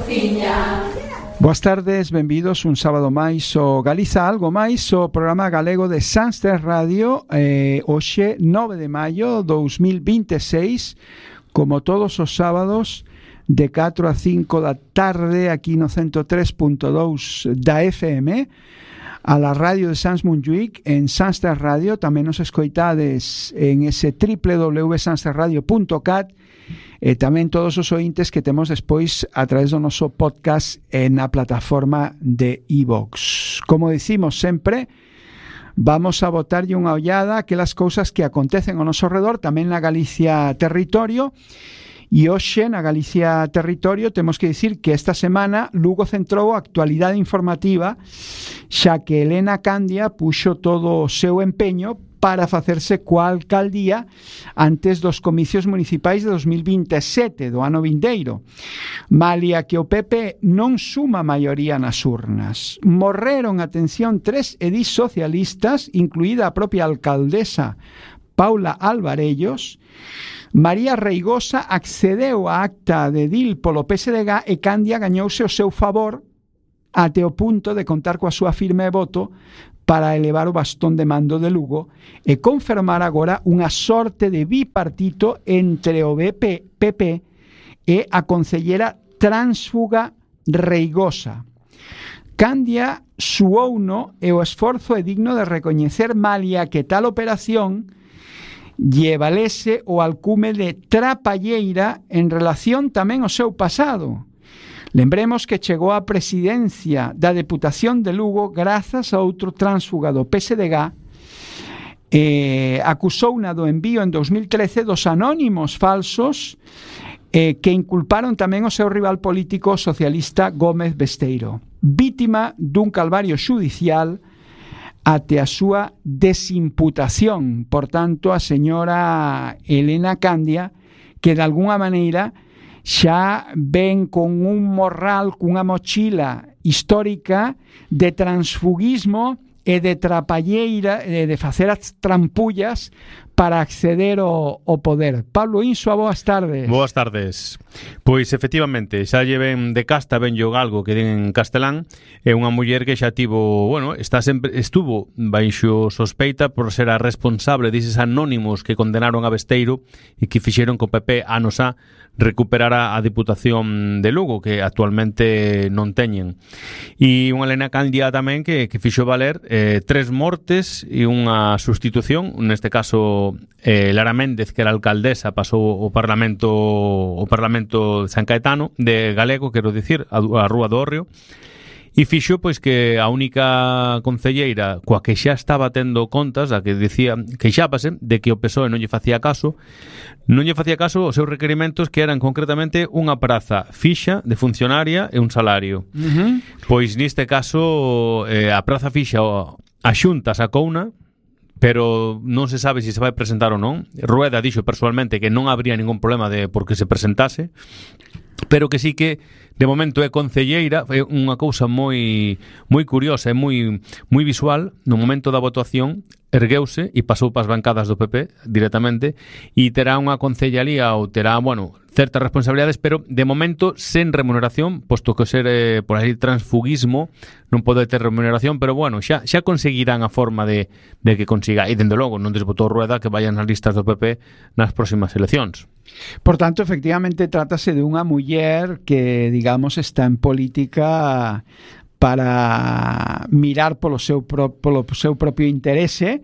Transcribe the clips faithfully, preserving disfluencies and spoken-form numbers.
cociña. Boas tardes, benvidos un sábado máis o Galiza Algo Máis, o programa galego de Sanster Radio, eh, hoxe nove de maio dous mil vinte e seis, como todos os sábados de catro a cinco da tarde aquí no ciento tres punto dous da F M, a la radio de Sans Montjuïc en Sanster Radio. Tamén nos escoitades en ese doble u doble u doble u punto sanster radio punto cat, e tamén todos os ointes que temos despois a través do noso podcast en a plataforma de iVox. Como dicimos sempre, vamos a botarlle unha ollada aquelas cousas que acontecen ao noso redor, tamén na Galicia Territorio. E hoxe na Galicia Territorio temos que dicir que esta semana Lugo centrou a actualidade informativa, xa que Elena Candia puxo todo o seu empeño para facerse coa alcaldía antes dos comicios municipais de dos mil vinte e sete, do ano vindeiro. Malia que o P P non suma maioría nas urnas. Morreron, atención, tres edís socialistas, incluída a propia alcaldesa Paula Alvarellos. María Reigosa accedeu á acta de edil polo P S D G e Candia gañouse o seu favor até o punto de contar coa súa firme de voto para elevar o bastón de mando de Lugo e confirmar agora unha sorte de bipartito entre o P P e a concellera tránsfuga Reigosa. Candia suouno e o esforzo é digno de recoñecer, malia que tal operación lle valese o alcume de trapalleira en relación tamén ao seu pasado. Lembremos que chegou á presidencia da Deputación de Lugo grazas a outro tránsfuga do P S D G, eh, acusouna do envío en dos mil trece dos anónimos falsos eh, que inculparon tamén o seu rival político socialista Gómez Besteiro, vítima dun calvario xudicial até a súa desimputación. Por tanto, a señora Elena Candia, que de algunha maneira xa ven con un morral, cunha mochila histórica de transfugismo e de trapalleira, e de facer as trampullas para acceder ao, ao poder. Pablo Insua, boas tardes. Boas tardes. Pois efectivamente, xa lle ven de casta, ven yo galgo que den en castelán, é unha muller que xa tivo, bueno, está sempre, estuvo baixo sospeita por ser a responsable dises anónimos que condenaron a Besteiro e que fixeron que o P P anos a recuperara a Diputación de Lugo, que actualmente non teñen. E unha Elena Candia tamén que, que fixo valer eh, tres mortes e unha sustitución, neste caso eh, Lara Méndez, que era alcaldesa, pasou o Parlamento o Parlamento de San Caetano, de Galego, quero dicir, a, a Rúa do Hórreo, e fixo pois que a única concelleira coa que xa estaba tendo contas, a que dicía que xápase de que o P S O E non lle facía caso, non lle facía caso os seus requerimentos, que eran concretamente unha praza fixa de funcionaria e un salario. Uh-huh. Pois neste caso eh, a praza fixa a Xunta sacouna, pero non se sabe se se vai presentar ou non. Rueda dixo persoalmente que non habría ningún problema de porque se presentase, pero que sí que de momento é concelleira. É unha cousa moi moi curiosa e moi moi visual. No momento da votación ergueuse e pasou pas bancadas do P P directamente, e terá unha concellalía ou terá, bueno, certas responsabilidades, pero de momento sen remuneración, posto que ser eh, por aí transfugismo non pode ter remuneración, pero bueno, xa xa conseguirán a forma de, de que consiga, e dende logo non desbotou Rueda que vayan nas listas do P P nas próximas eleccións. Por tanto, efectivamente, trátase de unha muller que, digamos, está en política para mirar polo seu, pro, polo seu propio interese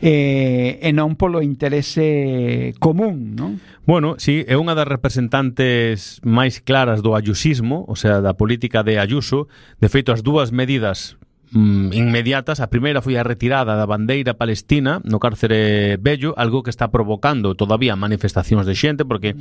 eh, e non polo interese común, non? Bueno, sí, é unha das representantes máis claras do ayusismo, o sea, da política de Ayuso. De feito, as dúas medidas mm, inmediatas, a primeira foi a retirada da bandeira palestina no cárcere Bello, algo que está provocando todavía manifestacións de xente, porque,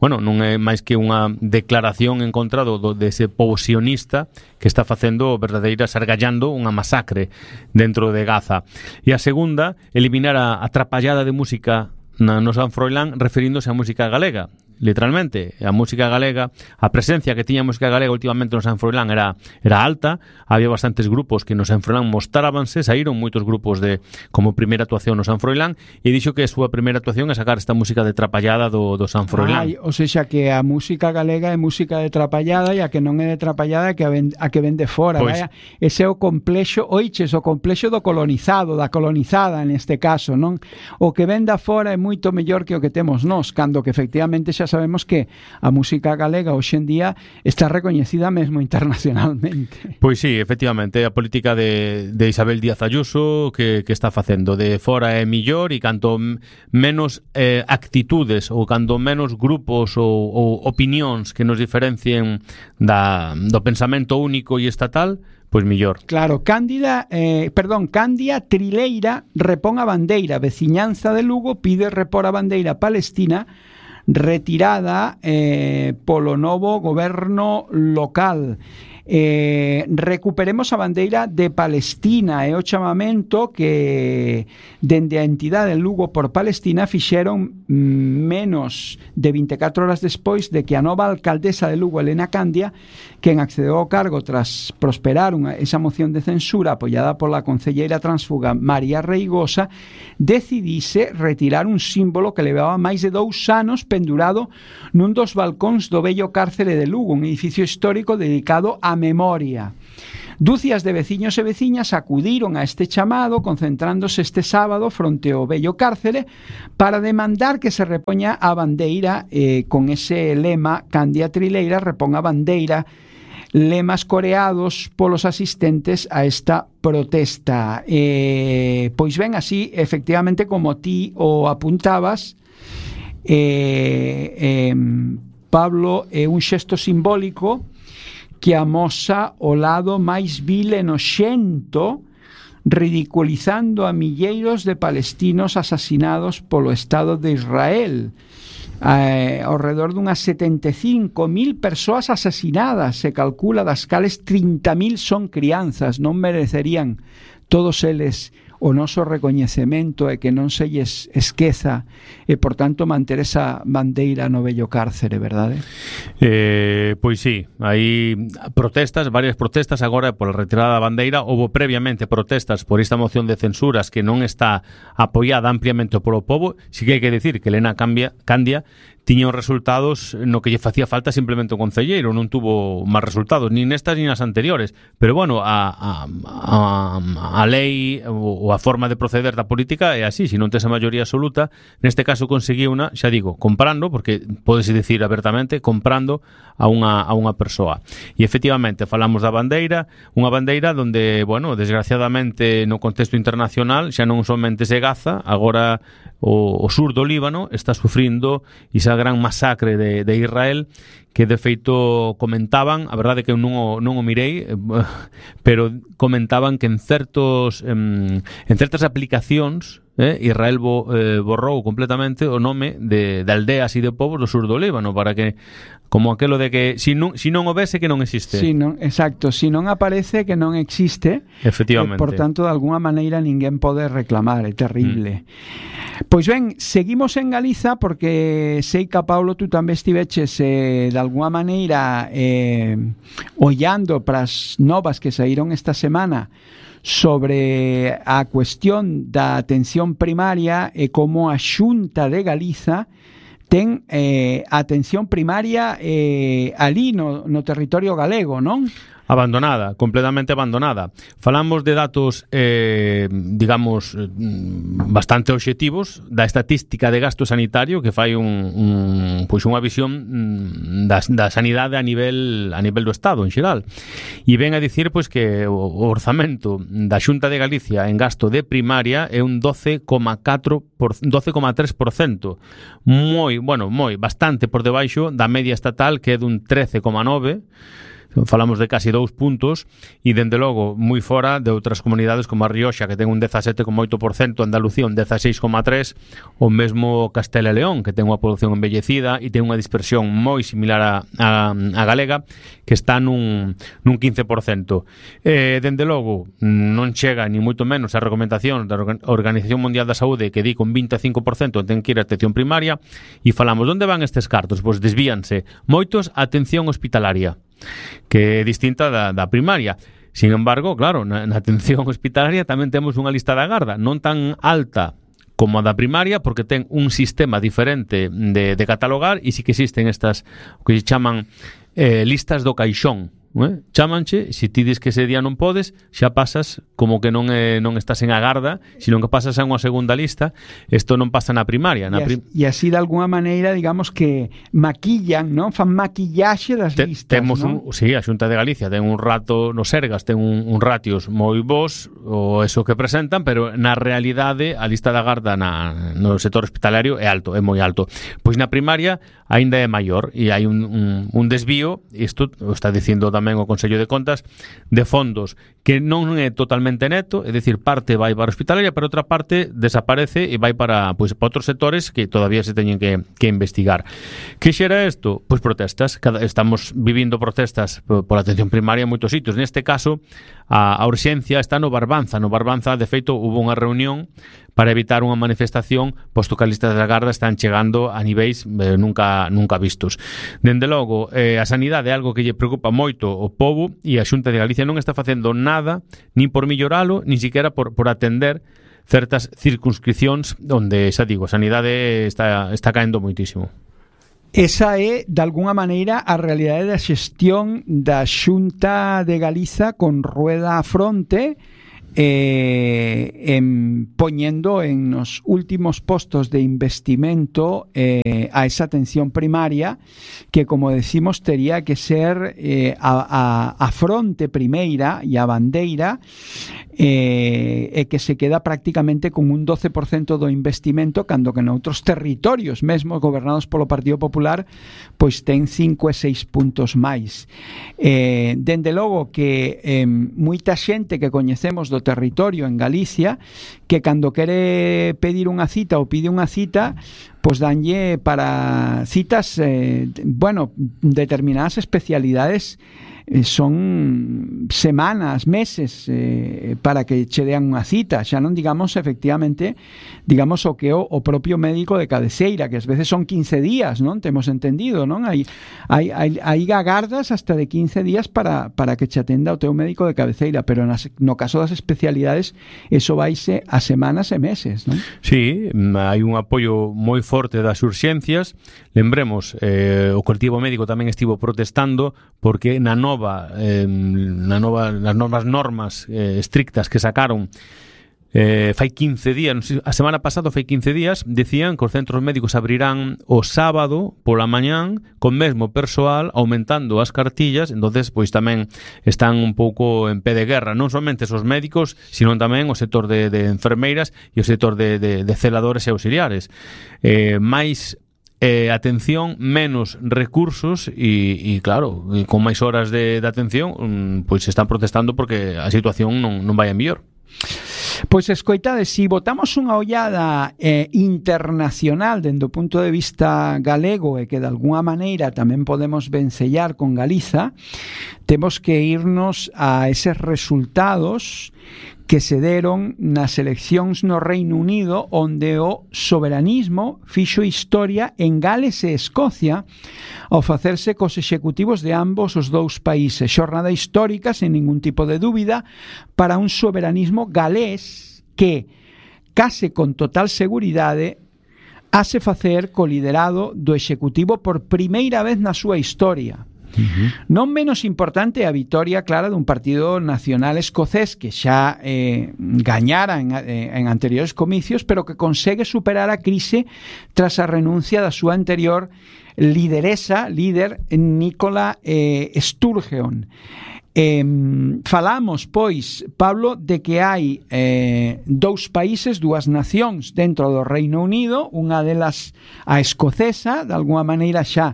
bueno, non é máis que unha declaración en contra do, do dese pobo sionista que está facendo verdadeira, sargallando unha masacre dentro de Gaza. E a segunda, eliminar a, a trapallada de música na, no San Froilán, referíndose á música galega. literalmente. A música galega, a presencia que tiña a música galega últimamente no San Froilán era, era alta, había bastantes grupos que no San Froilán mostrábanse, saíron moitos grupos de como primeira actuación no San Froilán, e dixo que a súa primeira actuación é sacar esta música de trapallada do, do San Froilán. Ai, ou seja, que a música galega é música de trapallada e a que non é de trapallada é que a, ven, a que ven de fora. Pois, vaya, ese é o complexo, oiches, o complexo do colonizado, da colonizada neste caso, non? O que ven da fora é moito mellor que o que temos nós, cando que efectivamente xa sabemos que a música galega hoxe en día está recoñecida mesmo internacionalmente. Pois sí, efectivamente, a política de, de Isabel Díaz Ayuso que, que está facendo de fora é millor, e canto menos eh, actitudes ou canto menos grupos ou, ou opinións que nos diferencien da, do pensamento único e estatal, pois millor. Claro, Cándida, eh, perdón, Cándia Trileira repón a bandeira, veciñanza de Lugo pide repor a bandeira palestina retirada eh, polo novo goberno local. Eh, recuperemos a bandeira de Palestina, é o chamamento que dende a entidade de Lugo por Palestina fixeron menos de vinte e catro horas despois de que a nova alcaldesa de Lugo, Elena Candia, quen accedeu ao cargo tras prosperar unha, esa moción de censura apoiada pola concelleira transfuga María Reigosa, decidise retirar un símbolo que levaba máis de dous anos pendurado nun dos balcóns do vello cárcere de Lugo, un edificio histórico dedicado a memoria. Dúcias de veciños e veciñas acudiron a este chamado, concentrándose este sábado fronte ao vello cárcere para demandar que se repoña a bandeira eh, con ese lema Cándia Trileira repón a bandeira, lemas coreados polos asistentes a esta protesta. Eh, pois ben, así, efectivamente, como ti o apuntabas, eh, eh, Pablo, é un xesto simbólico que amosa o lado máis vil e noxento, ridiculizando a milleiros de palestinos asasinados polo Estado de Israel. Eh, ao redor dunhas setenta e cinco mil persoas asasinadas, se calcula, das cales trinta mil son crianzas. Non merecerían todos eles o noso recoñecemento e que non se lles esqueza e, por tanto, manter esa bandeira no vello cárcere, verdade? Eh, pois sí, hai protestas, varias protestas agora por a retirada da bandeira. Houve previamente protestas por esta moción de censuras que non está apoiada ampliamente polo povo. Si que hai que decir que Elena Candia tiña os resultados no que lle facía falta simplemente o concelleiro, non tuvo máis resultados, nin nestas nin nas anteriores, pero bueno, a, a, a, a lei ou a forma de proceder da política é así, se non tes a maioría absoluta, neste caso conseguiu unha, xa digo, comprando, porque podese dicir abertamente, comprando a unha, a unha persoa. E efectivamente, falamos da bandeira, unha bandeira donde, bueno, desgraciadamente no contexto internacional xa non somente se Gaza, agora o, o sur do Líbano está sufrindo esa gran masacre de, de Israel, que de feito comentaban, a verdade que eu non o, non o mirei, pero comentaban que en certos en, en certas aplicacións eh, Israel bo, eh, borrou completamente o nome de, de aldeas e de povos do sur do Líbano, para que, como aquelo de que si non, si non o vese que non existe. Si non, exacto, si non aparece que non existe. Efectivamente. Eh, por tanto, de alguna maneira ninguén pode reclamar, é terrible. Mm. Pois ben, seguimos en Galiza porque sei que, Paulo, tú tamén estiveches eh, de alguna maneira eh, ollando para as novas que saíron esta semana sobre a cuestión da atención primaria e como a Xunta de Galiza ten eh, atención primaria eh, ali no, no territorio galego, non? Abandonada, completamente abandonada. Falamos de datos, eh, digamos, bastante obxectivos da estatística de gasto sanitario que fai un, un pois unha visión da, da sanidade a nivel a nivel do Estado en xeral. E ven a dicir pois que o orzamento da Xunta de Galicia en gasto de primaria é un doce coma catro por, doce coma tres por cento. Moi, bueno, moi, bastante por debaixo da media estatal, que é dun trece coma nove por cento. falamos de casi dous puntos, e dende logo moi fora de outras comunidades como a Rioxa, que ten un dezasete coma oito por cento, Andalucía un dezaseis coma tres por cento, o mesmo Castela e León, que ten unha población envellecida e ten unha dispersión moi similar a, a, a galega, que está nun, nun quince por cento. Eh, dende logo, non chega ni moito menos a recomendación da Organización Mundial da Saúde, que di con vinte e cinco por cento ten que ir a atención primaria, e falamos, onde van estes cartos? Pois desvíanse moitos a atención hospitalaria, que é distinta da, da primaria. Sin embargo, claro, na, na atención hospitalaria tamén temos unha lista de agarda, non tan alta como a da primaria, porque ten un sistema diferente de, de catalogar, e sí que existen estas, o que se chaman eh, listas do caixón. Eh? Chámanche, se ti dis que ese día non podes, xa pasas como que non eh, non estás en agarda, sino que pasas a unha segunda lista. Isto non pasa na primaria, na prim... E así de alguna maneira, digamos que maquillan, non? Fan maquillaxe das Te, listas, temos non? un, sí, a Xunta de Galicia ten un rato no Sergas, ten un, un ratios moi bons o eso que presentan, pero na realidade a lista de agarda na, no sector hospitalario é alto, é moi alto. Pois na primaria aínda é maior, e hai un, un, un desvío, isto o está dicindo tamén o Consello de Contas, de fondos que non é totalmente neto, é dicir, parte vai para a hospitalaria, pero outra parte desaparece e vai para, pois, para outros sectores que todavía se teñen que, que investigar. Que xera isto? Pois protestas. Cada, estamos vivindo protestas pola atención primaria en moitos sitios. Neste caso, a, a urxencia está no Barbanza. No Barbanza, de feito, hubo unha reunión para evitar unha manifestación, posto que as listas da Garda están chegando a niveis eh, nunca nunca vistos. Dende logo, eh, a sanidade é algo que lle preocupa moito o povo, e a Xunta de Galicia non está facendo nada, nin por milloralo, nin siquiera por, por atender certas circunscripcións onde, xa digo, a sanidade está, está caendo moitísimo. Esa é, de alguna maneira, a realidade da xestión da Xunta de Galiza con rueda a fronte, eh, en, poñendo en los últimos postos de investimento eh, a esa atención primaria, que, como decimos, tería que ser eh, a, a, a fronte primeira e a bandeira, eh, e que se queda prácticamente con un doce por cento do investimento, cando que noutros territorios, mesmo gobernados polo Partido Popular, pois ten cinco e seis puntos máis. Eh, dende logo que eh, moita xente que coñecemos do territorio en Galicia, que cando quere pedir unha cita ou pide unha cita, pois danlle para citas, eh, bueno, determinadas especialidades, eh, son semanas, meses eh, para que che dean unha cita, xa non digamos efectivamente, digamos o que o, o propio médico de cabeceira, que ás veces son quince días, non? Temos entendido, non? Hai, hai, hai, hai agardas hasta de quince días para, para que che atenda o teu médico de cabeceira, pero nas, no caso das especialidades eso vaise a semanas e meses, non? Sí, hai un apoio moi forte das urxencias. Lembremos, eh, o colectivo médico tamén estivo protestando porque na nova, eh, na nova nas novas normas eh, estrictas que sacaron eh, fai quince días, non sei, a semana pasada fai quince días, decían que os centros médicos abrirán o sábado pola mañán con mesmo persoal, aumentando as cartillas. Entonces, pois tamén están un pouco en pé de guerra, non somente os médicos, sino tamén o sector de, de enfermeiras e o sector de, de, de celadores e auxiliares. Eh, máis eh, atención, menos recursos e, e claro, e con máis horas de, de atención, um, pois están protestando porque a situación non, non vai a mellor. Pois escoitade, si botamos unha ollada eh, internacional dende o punto de vista galego, e que de alguna maneira tamén podemos vencellar con Galiza, temos que irnos a eses resultados que se deron nas eleccións no Reino Unido, onde o soberanismo fixo historia en Gales e Escocia ao facerse cos executivos de ambos os dous países. Xornada histórica, sen ningún tipo de dúbida, para un soberanismo galés que, case con total seguridade, hase facer co liderado do executivo por primeira vez na súa historia. Uh-huh. Non menos importante a vitoria clara dun partido nacional escocés que xa eh, gañara en, en anteriores comicios, pero que consegue superar a crise tras a renuncia da súa anterior lideresa, líder Nicola eh, Sturgeon. Eh, falamos, pois, Pablo, de que hai eh, dous países, dúas nacións dentro do Reino Unido, unha delas a escocesa, de alguna maneira xa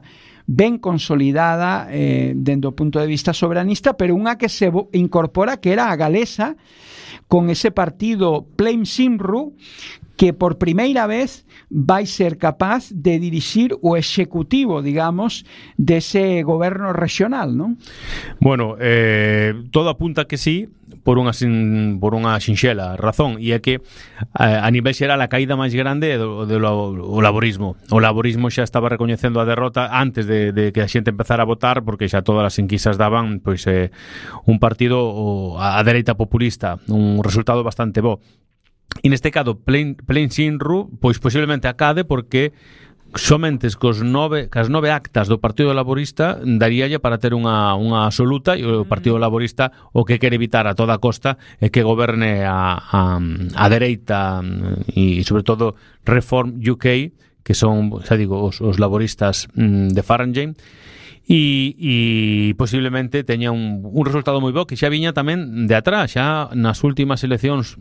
ben consolidada eh, dende o punto de vista soberanista, pero unha que se incorpora que era a galesa, con ese partido Plain Cymru, que por primeira vez vai ser capaz de dirixir o executivo, digamos, dese goberno regional, non? Bueno, eh, todo apunta que sí, por unha sin, por unha sinxela razón, e é que a, a nivel xeral a caída máis grande é do, do, do laborismo. O laborismo xa estaba recoñecendo a derrota antes de, de que a xente empezara a votar, porque xa todas as enquisas daban pois eh, un partido o, a, a dereita populista, un resultado bastante bo. E neste caso, Plain, Plain Cymru, pois posiblemente acade porque somente cos nove, cas nove actas do Partido Laborista daríalle para ter unha, unha absoluta, e o Partido Laborista o que quere evitar a toda costa é que goberne a, a, a dereita e sobre todo Reform U K, que son, xa digo, os, os laboristas mm, de Farage, e, e posiblemente teña un, un resultado moi bo que xa viña tamén de atrás. Xa nas últimas eleccións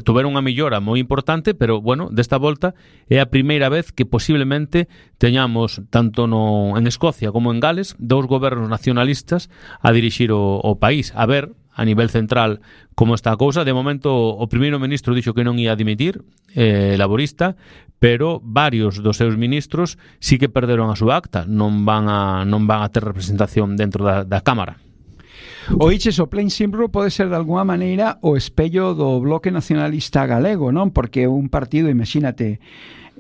tuveron unha millora moi importante, pero bueno, desta volta é a primeira vez que posiblemente teñamos tanto no, en Escocia como en Gales dous gobernos nacionalistas a dirixir o, o país. A ver a nivel central como está a cousa. De momento o primeiro ministro dixo que non ia dimitir, eh, laborista, pero varios dos seus ministros sí que perderon a súa acta, non van a non van a ter representación dentro da, da Cámara. Oiches, o Plain Cymru pode ser de alguma maneira o espello do bloque nacionalista galego, non? Porque un partido, imagínate,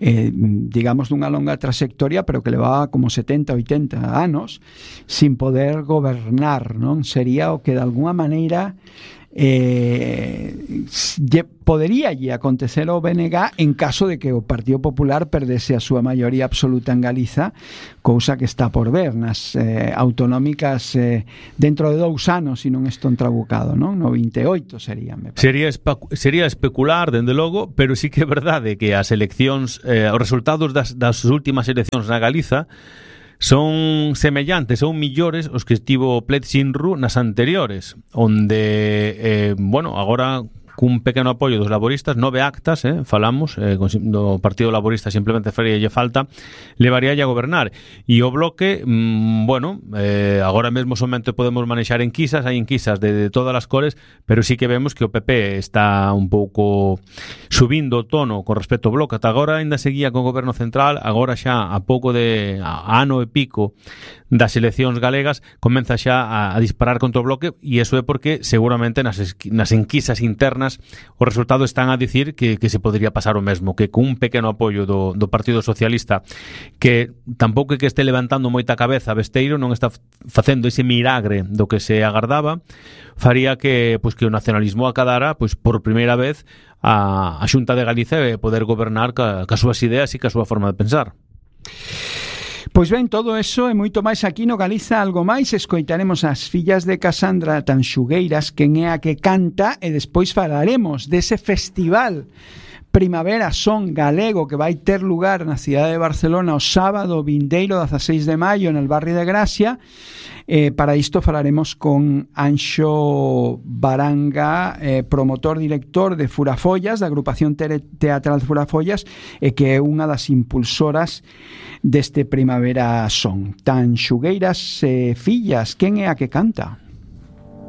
eh, digamos dunha longa trayectoria, pero que levaba como setenta, oitenta anos sin poder gobernar, non? Sería o que de alguma maneira eh, podería lle acontecer ao B N G en caso de que o Partido Popular perdese a súa maioría absoluta en Galiza, cousa que está por ver nas eh, autonómicas eh, dentro de dous anos, se non estou trabucado, non? No vinte e oito sería, me parece. Sería, sería especular, dende logo, pero sí que é verdade que as eleccións, eh, os resultados das, das últimas eleccións na Galiza son semellantes ou millores os que estivo Plain Cymru nas anteriores, onde, eh, bueno, agora cun pequeno apoio dos laboristas, nove actas, eh, falamos, eh, do Partido Laborista simplemente faríalle falta, levaríalle a gobernar. E o bloque, mmm, bueno, eh, agora mesmo somente podemos manexar enquisas, hai enquisas de, de todas as cores, pero sí que vemos que o P P está un pouco subindo o tono con respecto ao bloque. Ata agora ainda seguía con o goberno central, agora xa a pouco de a ano e pico das eleccións galegas comeza xa a, a disparar contra o bloque, e iso é porque seguramente nas, nas enquisas internas os resultados están a dicir que, que se podría pasar o mesmo, que con un pequeno apoio do, do Partido Socialista, que tampouco é que este levantando moita cabeza Besteiro, non está facendo ese milagre do que se agardaba, faría que, pois, que o nacionalismo acadara, pois, por primeira vez a, a Xunta de Galicia e poder gobernar ca, ca súas ideas e ca súa forma de pensar. Pois ben, todo eso e moito máis aquí no Galiza Algo Máis. Escoitaremos as fillas de Casandra Tanxugueiras, quen é a que canta, e despois falaremos dese festival Primavera Son Galego que vai ter lugar na cidade de Barcelona o sábado vindeiro dieciséis de maio en el barrio de Gracia. Eh, para isto falaremos con Anxo Baranga, eh, promotor director de Furafollas, da agrupación teatral Furafollas, e que é unha das impulsoras deste Primavera Son. Tanxugueiras, eh, fillas, quen é a que canta?